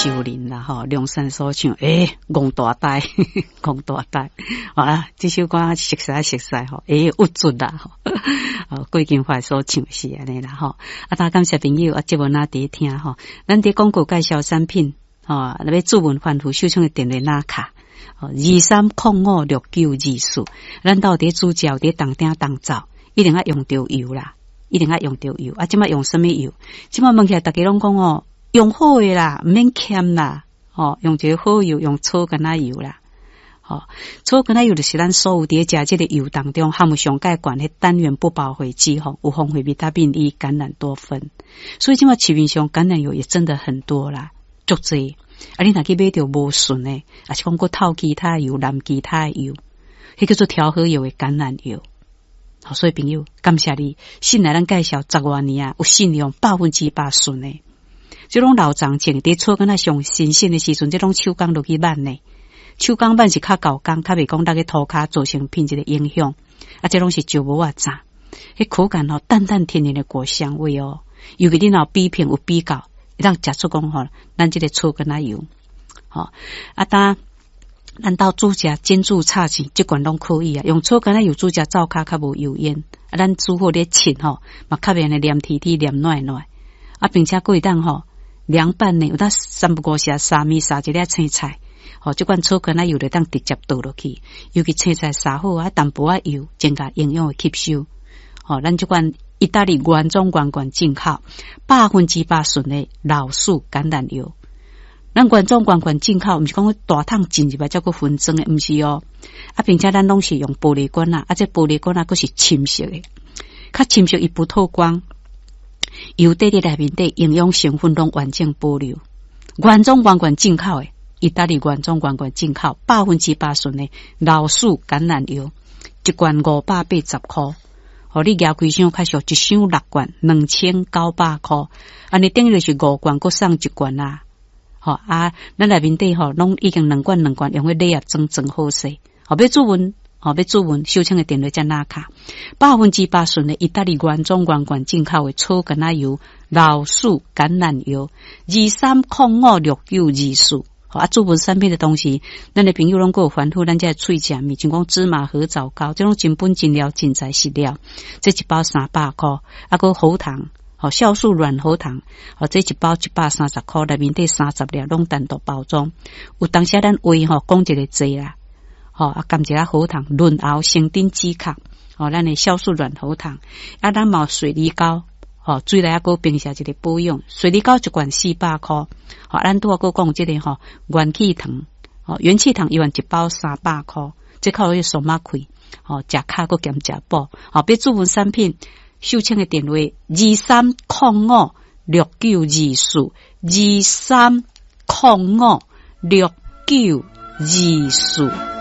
秀玲啦吼，梁山所唱，欸，戇大呆，戇大呆，啊，這首歌熟似熟似吼，欸，有准啦吼，哦，郭金發所唱是按呢啦吼，啊，大感謝朋友啊，節目哪佇聽吼，咱佇廣告介紹產品吼，若欲注文反覆收唱的電話拿卡。23056924，咱兜佇煮食，佇當鼎當灶，一定愛用著油啦，一定愛用著油。啊，這擺用啥物油？這擺問起來，逐家攏講哦，用好的啦，毋免儉啦，吼，用一个好油，用草橄欖油啦，吼，草橄欖油就是咱所有佇食這个油當中含有上蓋懸的單元不飽和脂肪，有豐富維他命 E、橄欖多酚，所以這擺市面上橄欖油也真的很多啦，足濟。啊，你若去買著無純的，抑是講閣透其他油、淋其他油，彼叫做調和油的橄欖油。好，所以朋友，感謝你信賴咱介紹十外年啊，有信用100%純的。這攏老欉種，佇草橄欖上新鮮的時陣，這攏手工落去挽的。手工挽是較厚工，較袂講落去塗跤造成品質的影響。啊，這攏是石磨仔榨，彼口感吼，淡淡甜甜的果香味哦。尤其你若有比拼有比較，會當食出講吼，咱這个草橄欖油，吼啊，當咱兜煮食煎煮炒煎，這款攏可以啊。用草橄欖油煮食，灶跤較無油煙。啊，咱煮好咧切吼，嘛較袂按呢黏貼貼、黏軟軟。啊，並且閣會當吼涼拌呢，有當三不五時沙麵撒一粒青菜，吼，這款草橄欖油就當直接倒落去。尤其青菜撒好啊，淡薄仔油，增加營養的吸收。吼，咱這款意大利原裝原罐進口，100%純的老樹橄欖油。咱原裝原罐進口，毋是講大桶進入來才閣分裝的，毋是哦。啊，並且咱攏是用玻璃罐仔，啊，這玻璃罐仔閣是深色的，較深色伊不透光，油底佇內面底營養成分攏完整保留。原裝原罐進口的，意大利原裝原罐進口，百分之百純的老樹橄欖油，一罐580箍。哦，你舉規箱較俗，一箱六罐，2900箍。按呢等於就是五罐，閣送一罐啊。吼啊，咱內面底吼，攏已經兩罐兩罐，用彼禮盒裝裝好勢。吼，欲注文，吼，欲注文，收錢的電話才拿卡。百分之百純的意大利原裝原罐進口的草橄欖油、老樹橄欖油，23056924。啊，注文產品的同時，咱的朋友攏閣有煩惱，咱這喙食物，像講芝麻褐藻膏，這種真本真料、真材實料，這一包300箍，啊，閣喉糖，吼，酵素軟喉糖，吼，這一包130箍，內面底30粒，攏單獨包裝。有當時咱話吼講一个濟啦，吼，啊，含一下喉糖潤喉生津止渴，吼，咱的酵素軟喉糖，啊，咱嘛有水梨膏。吼，水內猶閣平時一个保養，水梨膏一罐400箍，吼，咱拄仔閣講這个吼元氣糖，吼元氣糖一萬一包300箍，這靠迄爽仔氣，吼，食較閣兼食補，吼，欲注文產品，收錢的電話23056924，23056924。